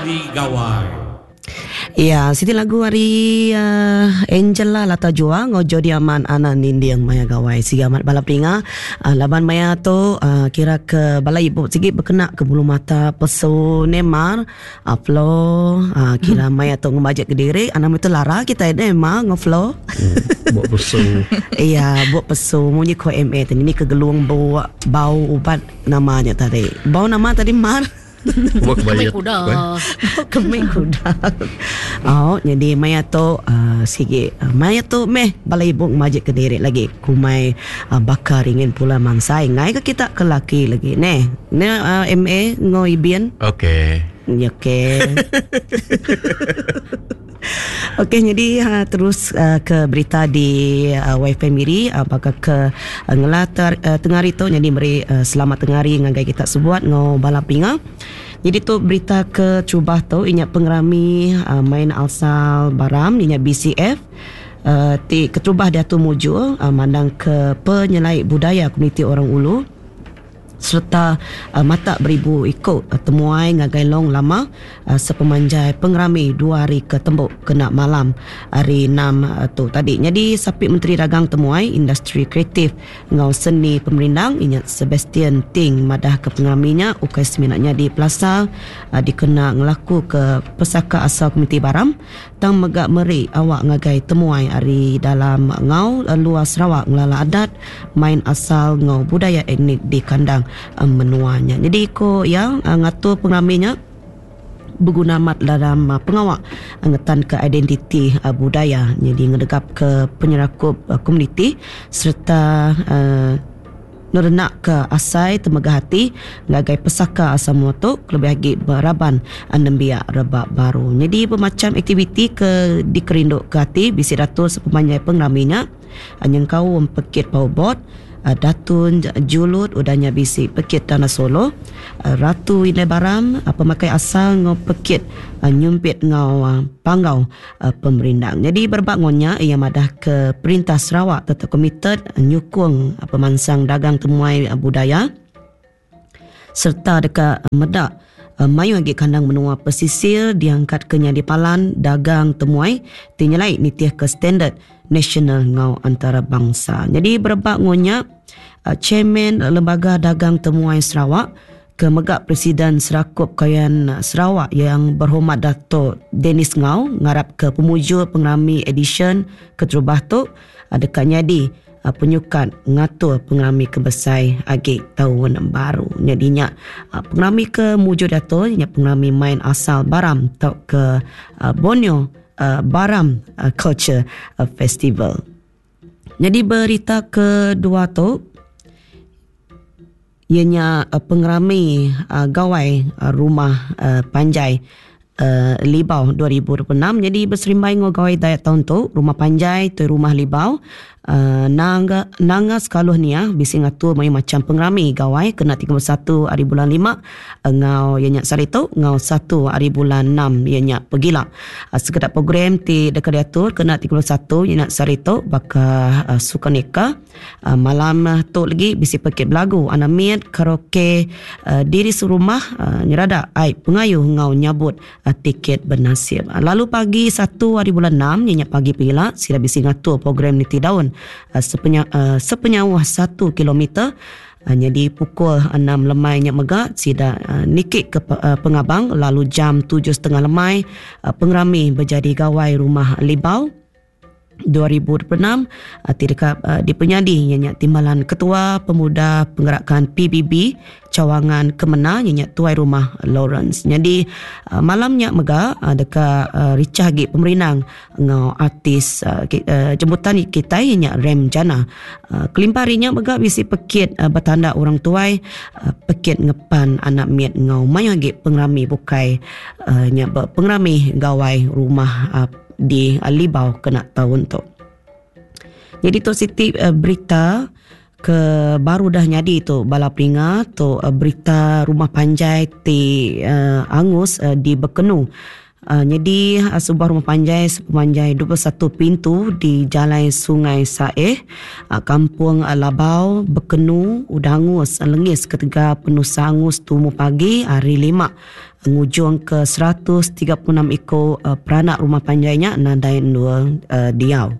Hari Gawai. Iya, siti lagu ari uh, Angela Lata Jua enggau Jody Aman Ana Ninding maya gawai. Sigi amat bala peninga uh, laban maya tu uh, kira ke bala ibu sigi bekena ke bulu mata pesu Neymar uh, Flo uh, kira maya tu ngemajik ke diri anak itu lara kita Neymar enggau Flo. Buat pesu. Iya, buat pesu munyi ko MA tadi ni ke gelung bau bau ubat namanya tadi. Bau nama tadi Mar. Buat Kemik kebayat. kuda. Kemik kuda. Oh, jadi maya tu uh, sigi uh, maya tu meh bala ibu majik ke diri lagi kumai uh, bakar ingin pula mansai ngai ke kita ke laki lagi neh. Ne uh, MA ngo ibin. Okey. Ya okey. Okey jadi uh, terus uh, ke berita di uh, WiFi Miri uh, baka ke uh, ngelatar uh, tengah hari tu jadi meri uh, selamat tengah hari ngagai kita sebuat ngau bala pinga. Jadi tu berita ke cubah tu inya pengerami uh, main asal Baram inya BCF uh, ti keterubah dia tu mujur uh, mandang ke penyelai budaya komuniti orang ulu sereta matak beribu iku temuai ngagai Long Lama sepemanjai pengerami dua hari ke tembu kena malam hari Enam tu tadi. Nyadi Sapit Menteri Dagang Temuai, Industri Kreatif enggau Seni Pemerindang inya Sebastian Ting madahka pengerami nya ukai semina nyadi pelasar dikena ngelakuka pesaka asal komuniti Baram tang mega meri awak ngagai temuai ari dalam enggau luar Sarawak ngelala adat, main asal enggau budaya etnik di kandang menua nya. Nyadi ku iya, ngatur pengerami nya beguna amat dalam pengawa ngetanka identiti budaya nyadi ngedegapka penyerakup komuniti sereta Nerenakka asai temegah ati ngagai pesaka asal menua tu kelebih agi ba raban nembiak rebak baru. Nyadi bemacham aktiviti ke dikerinduka ati bisi diatur sepemanjai pengerami nya nyengkaum pekit powerboat, Datun Julut udah nya bisi pekit Tanah Solo, Ratu Indai Baram, pemakai asal enggau pekit nyumpit enggau panggau. Pemerindang. Nyadi berebak enggau nya, iya madahka Perintah Sarawak tetap komited nyukung pemansang dagang temuai budaya sereta deka meda mayuh agi kandang menua pesisir diangkatka nyadi palan dagang temuai ti nyelai nitihka standard nasional enggau antarabangsa. Nyadi berebak enggau nya, Chairman Lembaga Dagang Temuai Sarawak, ke mega Presiden Serakup Kayan Sarawak Yang Berhormat Dato Dennis Ngau ngarapka pemujur pengerami edisyen keterubah tu deka nyadi penyukat ngatur pengerami ke besai agi taun baru. Nyadi nya pengerami ke mujur diatur nya pengerami main asal Baram tauka Borneo Baram Culture Festival. Nyadi berita kedua tu iya nya pengerami gawai rumah panjai Libau 2026 nyadi beserimbai enggau gawai Dayak taun tu rumah panjai tu rumah Libau Nanga Nanga Sekaluh Niah bisi ngatur mayuh macham pengerami gawai kena 31 hari bulan lima enggau iya nya sehari tu enggau satu hari bulan enam iya nya pegila. Sekeda program ti deka diatur kena 31 iya nya sehari tu baka sukaneka malam tu legi bisi pekit belagu anak mit, karaoke, diri serumah nyerada ai pengayu enggau nyabut tiket benasib. Lalu pagi satu hari bulan enam iya nya pagi pegila sida bisi ngatur program niti daun sepenyauh satu kilometer Nyadi pukul enam lemai nya mega sida niki ke pengabang lalu jam tujuh setengah lemai pengerami bejadi gawai Rumah Libau 2026 ti deka dipenyadi iya nya Timbalan Ketua Pemuda Penggerakan PBB Cawangan Kemena iya nya Tuai Rumah Lawrence. Nyadi malam nya mega deka richah agi pemerindang enggau artis jemputan kitai iya nya Rem Jana. Kelimpah ari nya mega bisi pekit betanda orang tuai, pekit ngepan anak mit enggau mayuh agi pengerami bukai nya ba pengerami gawai rumah di Libau kena taun tu. Nyadi tu siti berita ke baru udah nyadi tu bala peninga tu berita rumah panjai ti angus di Bekenu. Nyadi sebuah rumah panjai sepemanjai 21 pintu di Jalai Sungai Saeh, Kampung Labau, Bekenu udah angus lengis ketegal penusah angus tumu pagi Hari Lima ngujungka 136 iku peranak rumah panjai nya nadai endur diau.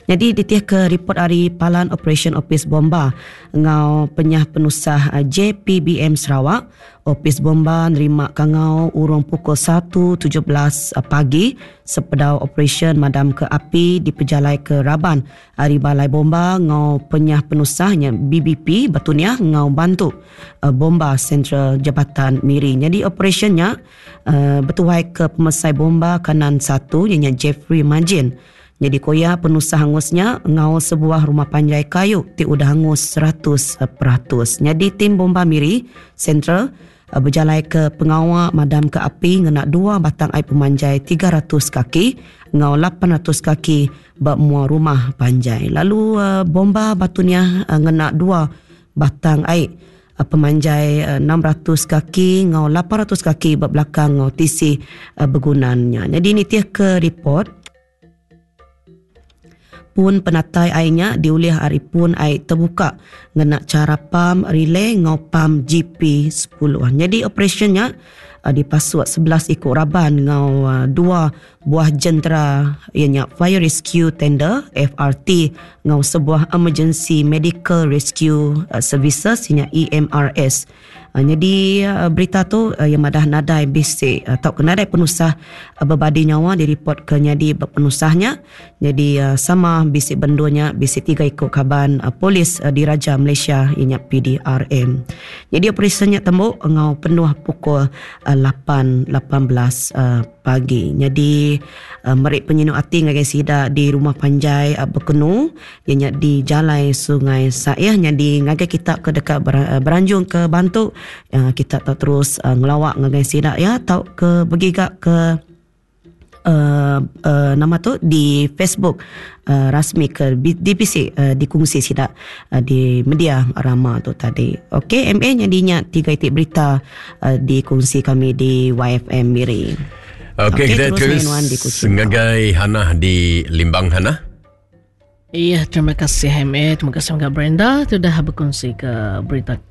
Nyadi ditihka ripot ari Palan Operasyen Opis Bomba enggau Penyah Penusah JPBM Sarawak, Opis Bomba nerima kangau urung pukul satu 17 pagi sepedau operasyen madamka api dipejalaika raban ari Balai Bomba enggau Penyah Penusah nya BBP Batu Niah enggau bantu Bomba Sentral Jabatan Miri. Nyadi operasyen nya betuaika Pemesai Bomba Kanan satu iya nya Jeffrey Majin. Nyadi ku iya, penusah angus nya ngaul sebuah rumah panjai kayu ti udah angus 100%. Nyadi tim Bomba Miri Sentral bejalaika pengawa madamka api ngena dua batang ai pemanjai 300 kaki enggau 800 kaki ba mua rumah panjai. Lalu Bomba Batu Niah ngena dua batang ai pemanjai 600 kaki enggau 800 kaki ba belakang enggau tisi begunan nya. Nyadi nitihka ripot, pun penatai ai nya diulih ari pun ai tebuka ngena chara pam relay enggau pam GP 10. Nyadi operasyen nya dipasuk 11 iku raban enggau dua buah jentera iya nya Fire Rescue Tender, FRT, enggau sebuah Emergency Medical Rescue Services iya nya EMRS. Nyadi berita tu iya madah nadai bisi tauka nadai penusah bebadi nyawa diripotka nyadi ba penusah nya. Nyadi sama bisi bendur nya bisi tiga iku kaban polis diraja Malaysia iya nya PDRM. Nyadi operasyen nya tembu enggau penuh pukul 8:18 pagi. Nyadi meri penyinu ati ngagai sida di rumah panjai Bekenu iya nya di Jalai Sungai Saih nyadi ngagai kita ke deka beranjung ke bantu kita tau terus ngelawa ngagai sida iya tauka begiga ke uh, nama tu di Facebook rasmi ke DPC dikongsi sida di media rama tu tadi. Okey, MA nyadi nya tiga iti berita dikongsi kami di YFM Miri. Okey, okay, kita terus ngagai Hana di Limbang Hana. Iya, terima kasih MA, terima kasih juga Brenda sudah berkongsi ke berita.